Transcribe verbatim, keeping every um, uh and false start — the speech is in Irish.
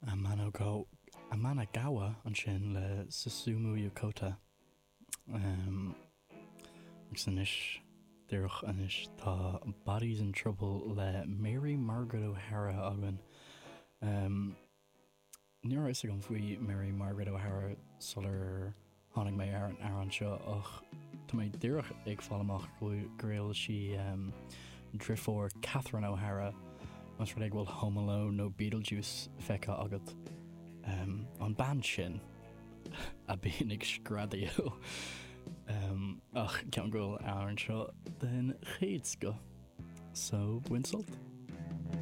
Amanogawa ansin le Susumu Yokota. Um, agus anois díreach anois tá Bodies in Trouble le Mary Margaret O'Hara againn. Um, ní raibh a fhios agam faoi Mary Margaret O'Hara sular tháinig mé ar an amhrán seo ach tá mé díreach ag fáil amach go bhfuil sí um, deirfiúr Catherine O'Hara más rud é go bhfuil Home Alone nó Beetlejuice feicthe agat um, an bean sin a bhíonn ag screadaíl um, ach ceann go amhrán seo den chéad scoth so bain sult.